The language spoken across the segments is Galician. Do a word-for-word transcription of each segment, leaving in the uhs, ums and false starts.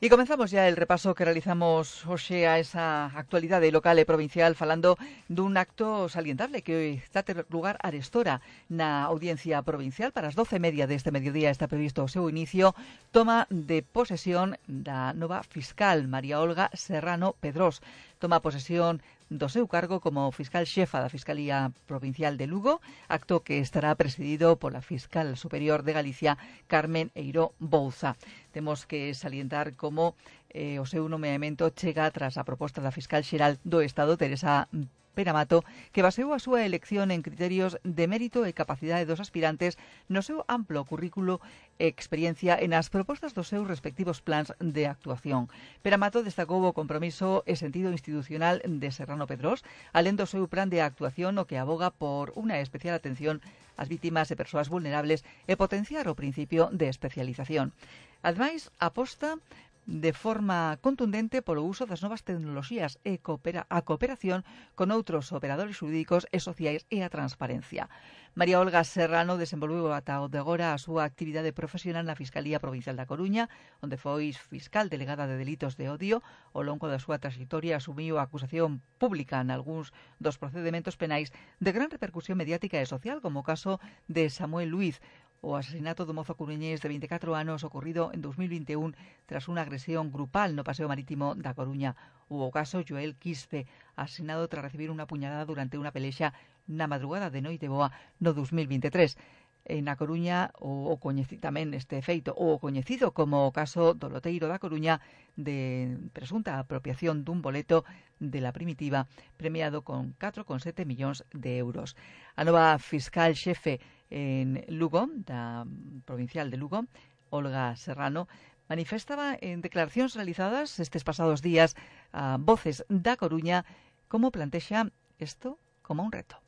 E comenzamos ya el repaso que realizamos hoxe a esa actualidade local e provincial falando dun acto salientable que está a ter lugar arestora na Audiencia Provincial. Para as doce e media deste mediodía está previsto o seu inicio, toma de posesión da nova fiscal María Olga Serrano Pedrós. Toma posesión do seu cargo como fiscal xefa da Fiscalía Provincial de Lugo, acto que estará presidido pola fiscal superior de Galicia, Carmen Eiró Bouza. Temos que salientar como eh, o seu nomeamento chega tras a proposta da fiscal xeral do Estado, Teresa Peramato, que baseou a súa elección en criterios de mérito e capacidade dos aspirantes no seu amplo currículo e experiencia e nas propostas dos seus respectivos plans de actuación. Peramato destacou o compromiso e sentido institucional de Serrano Pedrós, alén do seu plan de actuación o que aboga por unha especial atención ás vítimas e persoas vulnerables e potenciar o principio de especialización. Ademais, aposta de forma contundente polo uso das novas tecnoloxías e coopera, a cooperación con outros operadores xurídicos e sociais e a transparencia. María Olga Serrano desenvolveu ata o de agora a súa actividade profesional na Fiscalía Provincial da Coruña, onde foi fiscal delegada de delitos de odio. Ao longo da súa trayectoria asumiu a acusación pública en algúns dos procedementos penais de gran repercusión mediática e social, como o caso de Samuel Luiz, o asesinato do mozo coruñés de vinte e catro anos ocorrido en dos mil vinte e un tras unha agresión grupal no Paseo Marítimo da Coruña, ou o caso Joel Quispe, asesinado tras recibir unha puñalada durante unha pelexa na madrugada de Noiteboa no dos mil vinte e tres. En A Coruña, o, o coñecido tamén este feito, o coñecido como o caso do loteiro da Coruña de presunta apropiación dun boleto de la Primitiva premiado con catro coma sete millóns de euros. A nova fiscal xefe en Lugo, da provincial de Lugo, Olga Serrano, manifestaba en declaracións realizadas estes pasados días a Voces da Coruña como plantexa isto como un reto.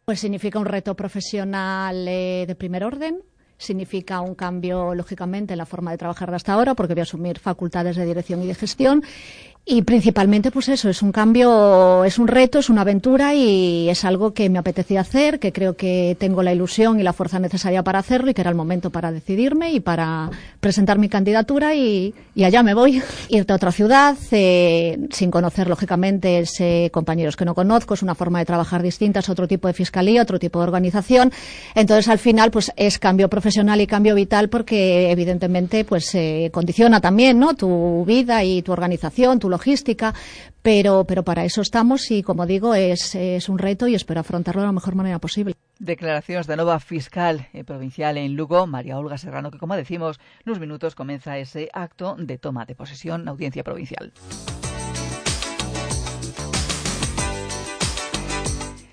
Pues significa un reto profesional eh, de primer orden, significa un cambio, lógicamente, en la forma de trabajar de hasta ahora, porque voy a asumir facultades de dirección y de gestión. Y principalmente, pues eso, es un cambio, es un reto, es una aventura y es algo que me apetecía hacer, que creo que tengo la ilusión y la fuerza necesaria para hacerlo y que era el momento para decidirme y para presentar mi candidatura y, y allá me voy. Irte a otra ciudad, eh, sin conocer, lógicamente, ese, compañeros que no conozco, es una forma de trabajar distinta, es otro tipo de fiscalía, otro tipo de organización. Entonces, al final, pues es cambio profesional y cambio vital porque, evidentemente, pues eh, condiciona también, ¿no?, tu vida y tu organización, tu logística, pero, pero para eso estamos y, como digo, es, es un reto y espero afrontarlo de la mejor manera posible. Declaracións da nova fiscal eh, provincial en Lugo, María Olga Serrano, que, como decimos, nos minutos comeza ese acto de toma de posesión na Audiencia Provincial.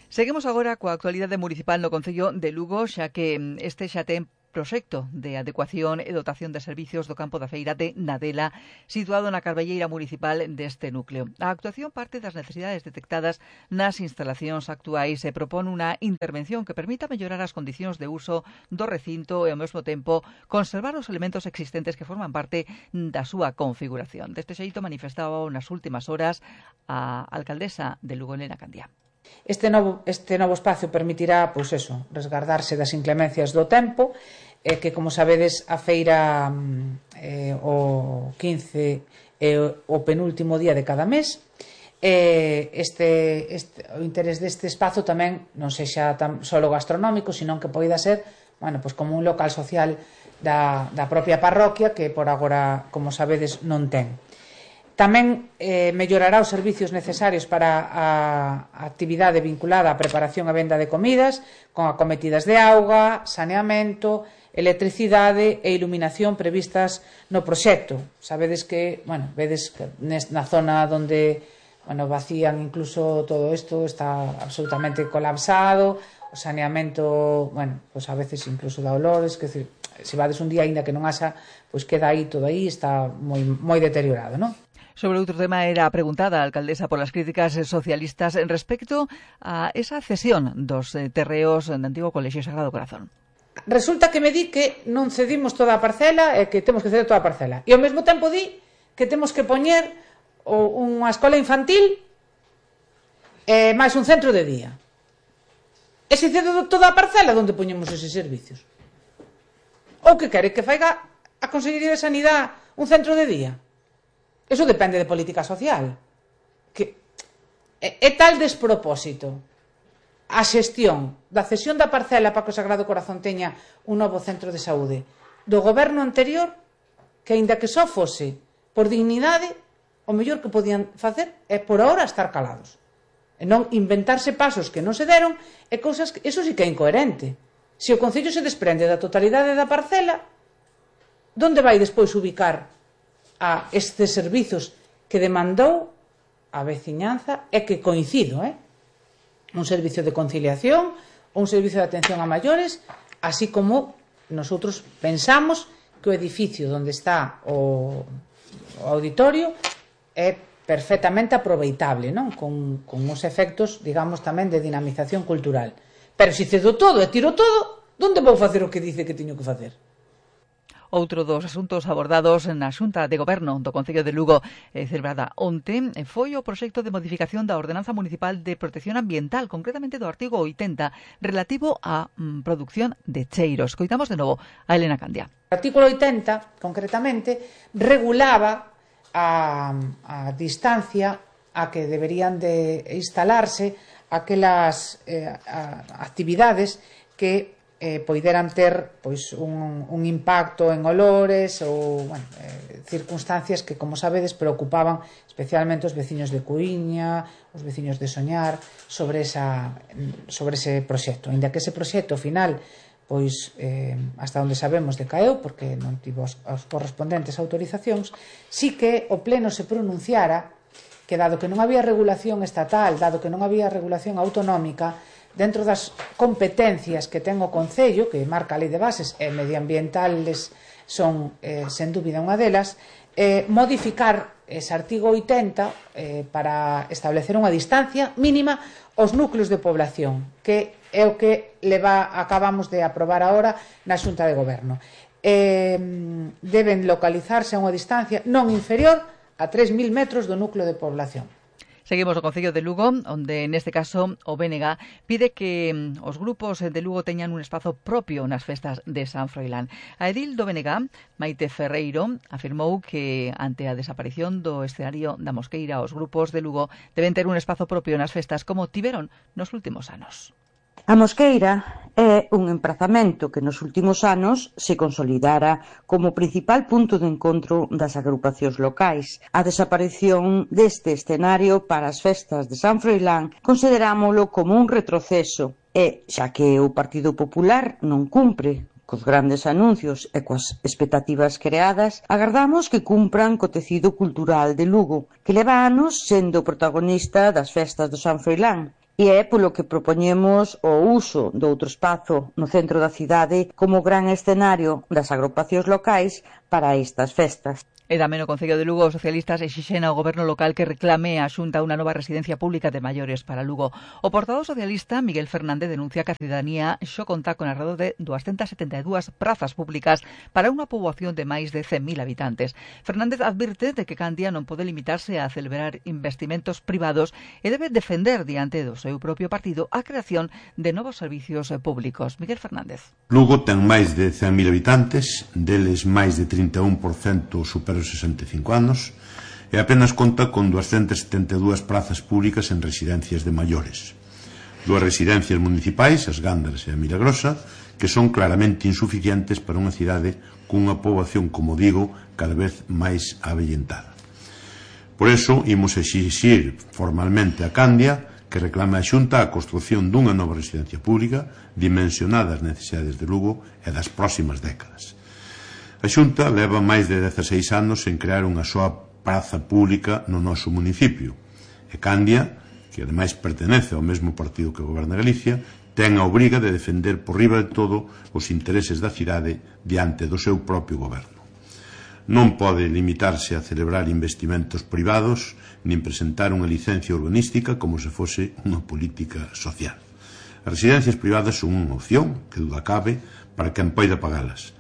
Seguimos agora coa actualidade municipal no Concello de Lugo, xa que este xa ten proxecto de adecuación e dotación de servicios do campo da feira de Nadela, situado na carbelleira municipal deste núcleo. A actuación parte das necesidades detectadas nas instalacións actuais e propón unha intervención que permita mellorar as condicións de uso do recinto e, ao mesmo tempo, conservar os elementos existentes que forman parte da súa configuración. Deste xeito manifestaba nas últimas horas a alcaldesa de Lugo, Elena Candía. Este novo, este novo espacio permitirá, pois eso, resgardarse das inclemencias do tempo, eh, que, como sabedes, a feira eh, o quince é eh, o penúltimo día de cada mes. Eh, este, este, o interés deste espazo tamén non sexa tan solo gastronómico, senón que poida ser, bueno, pois como un local social da, da propia parroquia, que por agora, como sabedes, non ten. Tamén eh, mellorará os servicios necesarios para a, a actividade vinculada á preparación e venda de comidas, con acometidas de auga, saneamento, electricidade e iluminación previstas no proxecto. Sabedes que, bueno, vedes que na zona onde, bueno, vacían incluso todo isto, está absolutamente colapsado, o saneamento, bueno, pues a veces incluso dá olores, que se, se vades un día aínda que non haxa, pois queda aí todo aí, está moi, moi deteriorado, non? Sobre outro tema era preguntada a alcaldesa por as críticas socialistas en respecto a esa cesión dos terreos do antigo Colexio Sagrado Corazón. Resulta que me di que non cedimos toda a parcela e que temos que ceder toda a parcela. E ao mesmo tempo di que temos que poñer unha escola infantil e máis un centro de día. E se cedo toda a parcela, onde poñemos eses servicios? Ou que quere que faiga a Consellería de Sanidade un centro de día? Eso depende de política social. Que é, é tal despropósito a xestión da cesión da parcela para que o Sagrado Corazón teña un novo centro de saúde do goberno anterior, que aínda que só fose por dignidade, o mellor que podían facer é por ahora estar calados e non inventarse pasos que non se deron e cousas que, eso sí que é incoherente. Se o Concello se desprende da totalidade da parcela, onde vai despois ubicar a estes servizos que demandou a veciñanza e que coincido, eh? Un servicio de conciliación, un servicio de atención a maiores, así como nosotros pensamos que o edificio onde está o, o auditorio é perfectamente aproveitable, non? Con, con os efectos, digamos, tamén de dinamización cultural. Pero se cedo todo e tiro todo, onde vou facer o que dice que teño que facer? Outro dos asuntos abordados na Xunta de Goberno do Concello de Lugo eh, celebrada onte foi o proxecto de modificación da Ordenanza Municipal de Protección Ambiental, concretamente do artigo oitenta, relativo á mm, produción de cheiros. Coitamos de novo a Elena Candia. O artículo oitenta, concretamente, regulaba a, a distancia a que deberían de instalarse aquelas eh, a, actividades que eh, poideran ter pois, un, un impacto en olores ou bueno, eh, circunstancias que, como sabedes, preocupaban especialmente os veciños de Cuíña, os veciños de Soñar, sobre, esa, sobre ese proxecto. Ainda que ese proxecto final, pois, eh, hasta onde sabemos, decaeu, porque non tivo as, as correspondentes autorizacións, sí que o Pleno se pronunciara que, dado que non había regulación estatal, dado que non había regulación autonómica, dentro das competencias que ten o Concello, que marca a Lei de Bases e medioambientales son, eh, sen dúbida, unha delas, eh, modificar ese artigo oitenta eh, para establecer unha distancia mínima aos núcleos de población, que é o que leva, acabamos de aprobar agora na Xunta de Goberno. Eh, deben localizarse a unha distancia non inferior a tres mil metros do núcleo de población. Seguimos o Concello de Lugo, onde neste caso o B N G pide que os grupos de Lugo teñan un espazo propio nas festas de San Froilán. A edil do B N G, Maite Ferreiro, afirmou que ante a desaparición do escenario da Mosqueira, os grupos de Lugo deben ter un espazo propio nas festas como tiveron nos últimos anos. A Mosqueira é un emprazamento que nos últimos anos se consolidara como principal punto de encontro das agrupacións locais. A desaparición deste escenario para as festas de San Froilán considerámolo como un retroceso e, xa que o Partido Popular non cumpre cos grandes anuncios e coas expectativas creadas, agardamos que cumpran co tecido cultural de Lugo, que leva anos sendo protagonista das festas do San Froilán. E é polo que propoñemos o uso do outro espazo no centro da cidade como gran escenario das agrupacións locais para estas festas. E tamén o Concello de Lugo, os socialistas exixen ao goberno local que reclame a Xunta unha nova residencia pública de maiores para Lugo. O portavoz socialista, Miguel Fernández, denuncia que a cidadanía xo conta con alrededor de doscientas setenta e dúas prazas públicas para unha poboación de máis de cen mil habitantes. Fernández advirte de que Candia non pode limitarse a celebrar investimentos privados e debe defender diante do seu propio partido a creación de novos servicios públicos. Miguel Fernández. Lugo ten máis de cen mil habitantes, deles máis de trinta e un por cento super os sesenta e cinco anos e apenas conta con doscientas setenta e dúas prazas públicas en residencias de maiores. Dúas residencias municipais, as Gándaras e a Milagrosa, que son claramente insuficientes para unha cidade cunha poboación, como digo, cada vez máis avellentada. Por eso, imos exixir formalmente a Candia que reclame a Xunta a construción dunha nova residencia pública dimensionada ás necesidades de Lugo e das próximas décadas. A Xunta leva máis de dezaseis anos en crear unha soa praza pública no noso municipio. E Candia, que ademais pertenece ao mesmo partido que goberna Galicia, ten a obriga de defender por riba de todo os intereses da cidade diante do seu propio goberno. Non pode limitarse a celebrar investimentos privados nin presentar unha licencia urbanística como se fose unha política social. As residencias privadas son unha opción, que duda cabe, para quen poida pagalas,